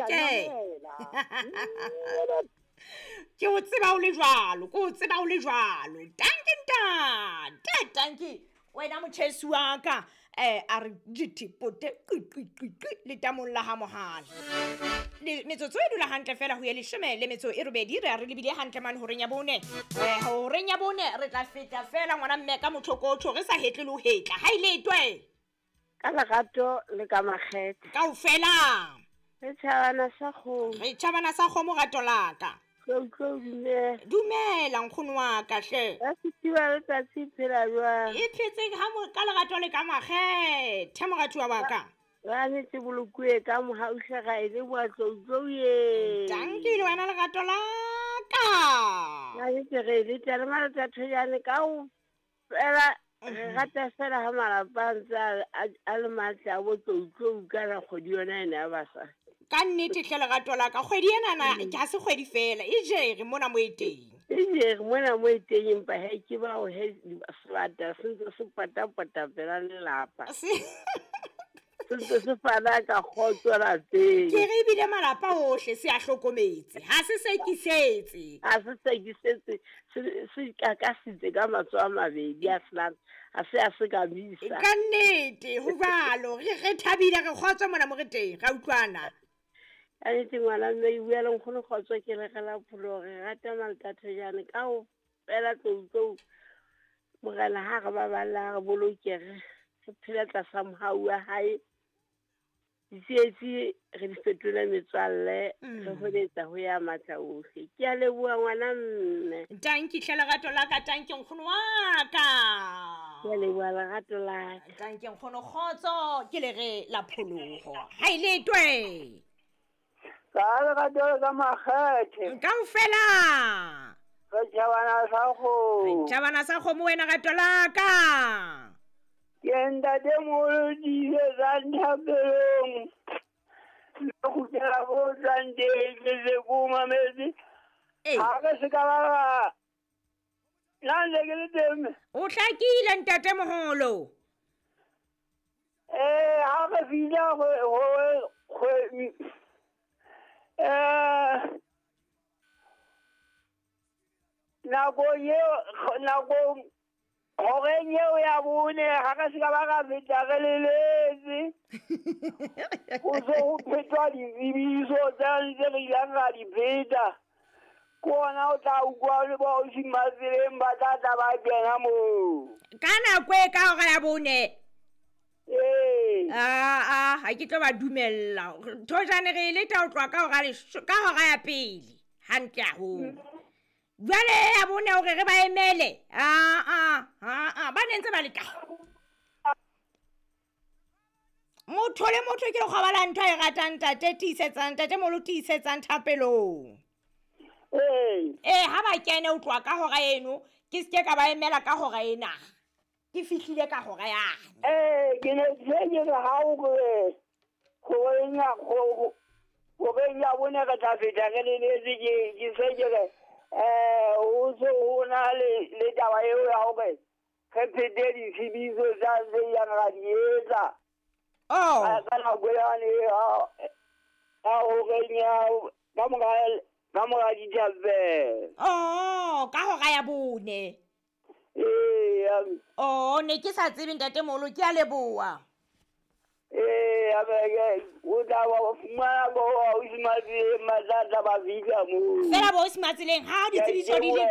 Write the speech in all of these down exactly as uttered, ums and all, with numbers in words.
Ke ke o tseba o le jwalo, ke o tseba o le jwalo. Tanki ntate, tanki wena motjhesi wa ka. Eh a re dithipote qi qi qi qi letamong la ha mohale. Metsotso e dula hantle fela ho ye leshome le metso e robedi, re a re lebile hantle mane horeng ya bone. Eh horeng ya bone re tla feta fela ngwana mme ka mothokotho re sa hetle le ho hetla. Ha ile twe ka lerato le ka makgethe kaofela. Re tjhabana sa kgomo, re tjhabana sa kgomo rato la ka. Tlo dumela. Dumela nkgono wa ka hle. Ba sitiwa letsatsi phela jwang? E phetse ha mo ka lerato le ka makgethe moratuwa wa ka. Ba netse bolokuwe ka mohau hle ra e leboha tlo ye. Tanki le wena lerato la ka. Ba netse re le tla le malata thojane ka o fela re rata fela ha malapa a ntse a le matle a bo tlo ka la kgwedi yona ena ya basadi. Ka nnete hle lerato la ka, kgwedi ena na ke ha se kgwedi fela, e jere mona mo e teng. E jere mona mo e teng, empa he ke ba o he sebata se ntse se patapata pela lelapa. Se ntse se fana ka kgotso lapeng. Ke re ebile malapa ohle se a hlokometse, ha se sekisetse. Ha se sekisetse, se kakasitse ka matsoho a mabedi a senang, a se a se ka misa. Ka nnete ho jwalo, re re thabile re kgotso mona mo re teng, ra utlwana. Ka nnete ngwana mme e bua le nkgono kgotso ke re la pholo re rata maltathejane ka o fela tlo morena ha re ba balla re boloke re phela tlasa mohau wa hae. Ditsietsi re di fetole metswalle, re holetsa ho ya matla ohle. Ke a leboha ngwana mme. Tanki hle lerato la ka, tanki nkgono wa ka. Ke a leboha lerato la ka. Tanki nkgono kgotso ke le re la pholoho. Ha ile twe. Ka lerato ka makgethe. Kaofela. Re tjhabana sa kgomo. Re tjhabana sa kgomo wena rato la ka. Ke ntate moholo dijo tsa nthapelong. Le kgutlela ko tswang teng ke se ko mametse. Ha re se ka ba ba. Nna ntse ke le teng. O hlakile ntate moholo. Eh ha re fihla ho ho eh nakong eo nakong horeng eo ya bone ha re se ka ba ra feta re leletse. Ho se ho phetwa ditsebiso tse ntse re ileng ra di pheta. Ke ona o tla utlwa le ba ausi Matseleng ba tla tla ba kena moo. Ka nako e ka hora ya bone. Ee. Ah ah ha ke tlo ba dumella. Thojane re leta ho tloha ka hora ka hora ya pele. Hantle haholo. Jwale ya bone hore re ba emele. Ah ah ah ah ba ne ntse ba le ka. Motho le motho ke lekgoba la ntho e ratang ntate tiisetsang ntate moholo tiisetsang thapelong. Ee. Eh ha ba kene o tloha ka hora eno ke seke ka ba emela ka hora ena. Ke fihlile ka hora yane. Eh ke ne ke ke re ha o re horeng ya horeng ya bone re tla feta re leletse ke ke se ke re eh o se ho na le le taba eo ya hore re phete ditsebiso tsa tse yang ra di etsa. Oh. Ka nako yane ha horeng ya ka mora ka mora dithapelo. Oh, ka hora ya bone. Ee. Oh, ne ke sa tsebe ntate moholo, ke a leboha. Ee, o tla ba fumana bo ausi Matseleng ba tla tla ba fihla moo. Fela bo ausi Matseleng ha ditsebiso di le.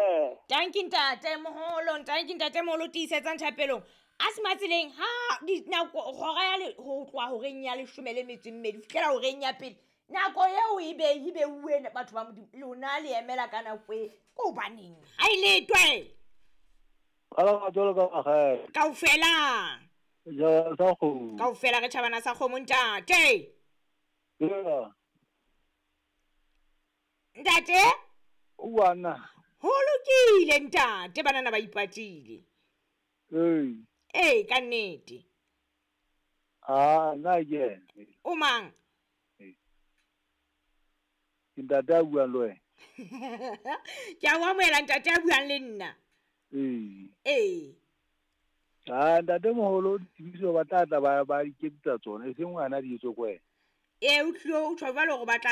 Tanki ntate moholo, tanki ntate moholo tiisetsang thapelong. Ausi Matseleng ha di nako hora ya le ho tloha horeng ya leshome le metso e mmedi ho fihlela horeng ya pele. Nako eo e be e be uwe batho ba Modimo lona le emela ka nako e ko hobaneng. Ha ile twe. Ka lerato le ka makgethe. Kaofela. Ja sa kgomo. Kaofela re tjhabana sa kgomo ntate. Yeah. Ntate? Uwana. Ho lokile ntate, banana ba ipatile. Ee. Ee, ka nnete. Ah, nna ke. O mang? Ke ntate a buang le wena. Ke a o amohela ntate a buang le nna. Ee. Ee. Ah, ntate moholo ditsebiso ba tla tla ba ba iketsetsa tsona, e seng ngwana di etswe ko wena. Ee, o tlilo o tjho jwalo hore ba tla